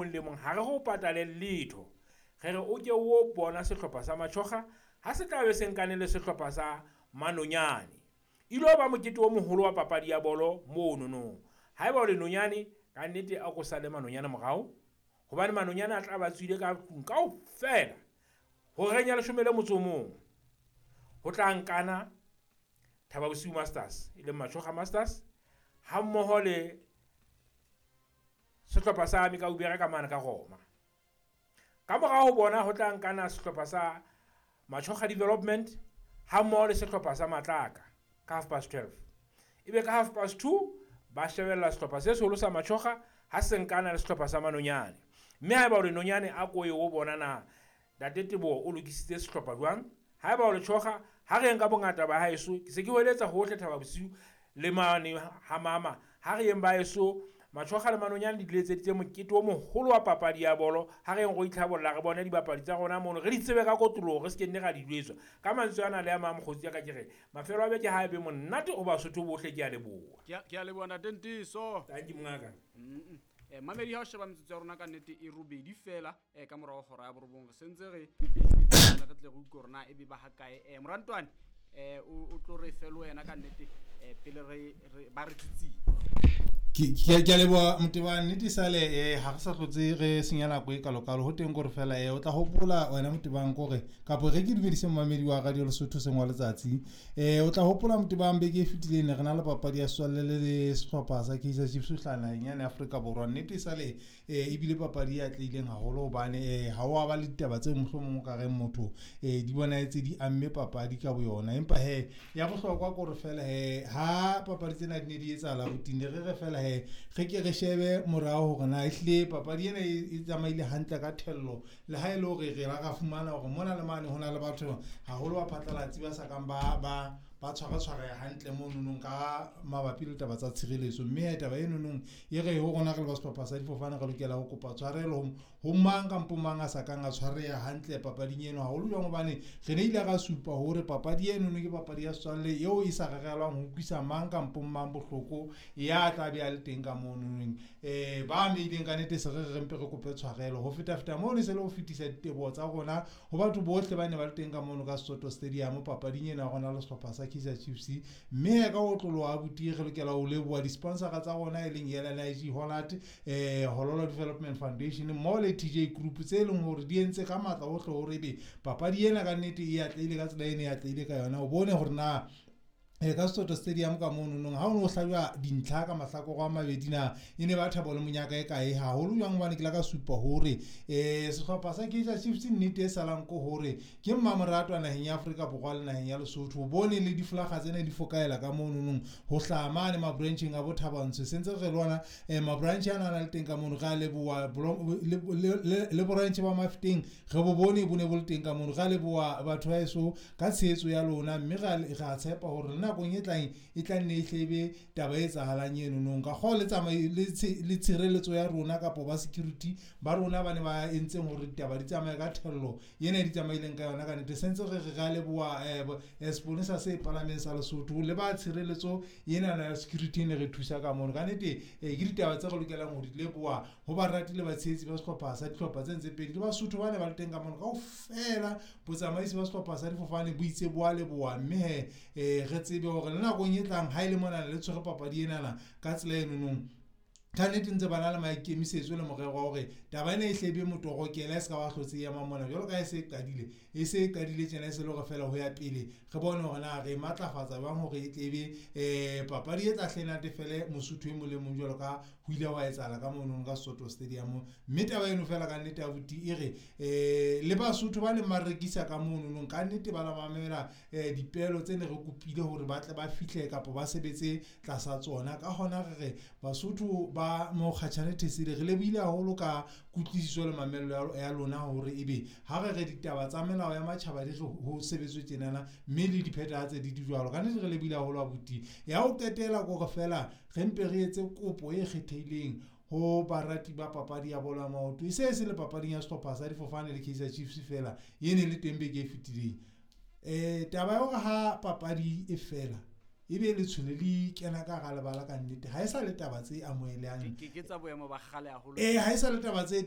mong le mong, ha re ho patale letho. Re re o ke o bona sehlopha sa Matjhoga ha se tla be se nkane le sehlopha sa Manonyane. Ilo ba mokete o moholo wa papadi ya bolo monono. Haeba o le nonyane, ka nnete a ko sale Manonyane morao, hobane Manonyane a tla ba tswile ka tlung kaofela horeng ya 11. Ho tla nkana Thaba Bosiu Masters, e leng Matjhoga Masters, ha mmoho le sehlopha sa Mekaubere ka mane ka Roma. Ka morao ho bona ho tla nkana sehlopha sa Matjhoga Development ha mmoho le sehlopha sa Matlaka ka 12:30. Ebe ka 2:30 ba shebella sehlopha se seholo sa Matjhoga ha se nkana le sehlopha sa Manonyane. Mme haeba o le nonyane, a ko ye o bona na Ntate Teboho o lokisitse sehlopha jwang. Haeba o le tjhoga, ha re yeng ka bongata ba haeso, ke se ke hweletsa hohle Thaba Bosiu le mane ha mama. Ha re yeng ba heso, Matjhoga le Manonyane di letseditse mokete o moholo wa papadi ya bolo. Ha re yeng ro itlhabolla, re bone dibapadi tsa rona mono, re di tsebe ka kotloloho, re se ke nne ra di jwetswa. Ka mantswe ana le a mang, mokgotsi ya ka, ke re mafelo a beke ha e be monate ho Basotho bohle. Ke a leboha. Ke a leboha, Ntate Ntiso. Thank you, mongaka. Mamedi, ha o sheba metsotso ya rona, ka nnete e 8 fela ka morao hora ya 9. Re sentse re re tle re utlwe hore na ebe ba hakae. Morantwane, o tlo re fe le wena ka nnete, pele re ba re tsitsing. Ke a leboha, Motebang. Nnete sale ha re sa hlotse re senya nako e kalokalo ho teng, kore fela o tla hopola wena, Motebang, kore kapo re ke dumedise momamedi wa Radio Lesotho seng wa letsatsi. O tla hopola, Motebang, beke e fetileng ne re na le papadi ya setswalle le sehlopha sa Kaizer Chiefs ho hlaha naheng yane Afrika Borwa. Nnete sale ebile papadi e atlehileng haholo, hobane ha o a ba le ditaba tse mohlomong o ka reng motho di bonahetse di amme papadi ka boyona. Empa he ya bohlokwa kore fela he ha papadi tsena di ne di etsahala routine, re re fela he re ke re shebe morao hore na ehlile papadi ena e tsamaile hantle ka thello, le ha e le hore re la ra fumana hore mona le mane ho na le batho haholo ba phatlalatsi ba sa kang ba tshwara-tshwareha hantle mononong ka mabapi le taba tsa tshireletso. Mme he taba enonong e re ho rona re le ba sehlopha sa difofane re lokela ho kopa tshwarelo ho mang kampo mang a sa kang a tshwareha hantle papading eno, haholo jwang hobane re ne ile ra supa hore papadi enono ke papadi ya setswalle eo e sa rerelwang ho utlwisa mang kampo mang bohloko ya tla be a le teng ka mononong. Ba ameileng, ka nnete se re re mpe re kope tshwarelo. Ho feta-feta mono, se le ho fetisa diteboho tsa rona ho batho bohle ba ne ba le teng ka mono ka Soto Stadium papading ena ya rona le sehlopha sa Kaizer Chiefs. Mme ka ho tloloha, abuti, re lokela ho leboha di-sponsora tsa rona, e leng LNIG Hollard, Hololo Development Foundation mmoho le TJ Group, tse leng hore di entse ka matla ohle hore ebe papadi ena ka nnete e atlehile ka tsela ene e atlehile ka yona. O bone hore na ka Soto Stadium ka mono nong ha o no hlajwa dintlha ka mahlakore a mabedi, na e ne ba thabo le monyaka e kae, haholo jwang hobane ke la ka supa hore sehlopha sa Kaizer Chiefs, nnete e salang ko hore ke mmamoratwa naheng ya Afrika Borwa le naheng ya Lesotho. O bone le difolaga tsena di fokaela ka mono nong ho hlaha mane mabrancheng a bo Thabantsho, sentse re lwana mabranch ana a na le teng ka mono. Re a leboha le branch ba Mafeteng, re bo bone bo ne bo le teng ka mono. Re a leboha batho ba heso ka tshehetso ya lona, mme re a tshepa hore le nakong e tlang e tla nne e hlebe taba e etsahalang eno nong ka kgoo le tshireletso ya rona kapo ba security ba rona ba ne ba entseng hore ditaba di tsamaye ka thello ena e di tsamaileng ka yona. Ka nnete sentse re re a leboha seponesa se palameng sa Lesotho le ba tshireletso ena ya security e ne re thusa ka mono. Ka nnete ke ditaba tse re lokelang ho di leboha ho barati le batshehetsi ba sehlopha sa dihlopha tse ntse pedi le Basotho ba ne ba le teng ka mono kaofela. Botsamaisi ba sehlopha sa difofane bo itse bo a leboha, mme he re tsebe hore le nakong e tlang ha e le monana le tshwere papadi enana ka tsela enonong, ka nnete ntse ba na le maikemisetso le morero wa hore taba ena e hle ebe motorokela, e se ka ba hlotse e ema mona jwalo ka ha e se e qadile. E se e qadile tjena, e se le hore fela ho ya pele re bone hore na re matlafatsa jwang hore e tle ebe papadi e tla hle natefele Mosotho e mong le mong, jwalo ka ho ile hwa etsahala ka mono ka Soto Stadium. Mme taba eno fela ka nnete, abuti, e re le Basotho ba neng ba rekisa ka mono, ka nnete ba la mamela dipehelo tse ne re kopile hore ba tle ba fihle kapa ba sebetse tlasa tsona. Ka hona re re Basotho ba Mokgatjhane Thesele, re lebohile haholo ka kutlwisiso le mamello ya lona hore ebe ha re re ditaba tsa melao ya matjhaba di re ho sebetswe tjenana, mme le diphethahatse di jwalo. Ka nnete re lebohile haholo, abuti. Ya ho qetela kore fela re mpe re etse kopo e kgethehileng ho barati ba papadi ya bolo ya maoto, e se e se le papading ya sehlopha sa difofane le Kaizer Chiefs fela e ne le teng beke e fetileng. Taba ya hore ha papadi e fela ebe letshwele le kena ka hara lebala, ka nnete ha e sa le taba tse amohelehang. Ke tsa boemo ba kgale haholo. Ha e sa le taba tse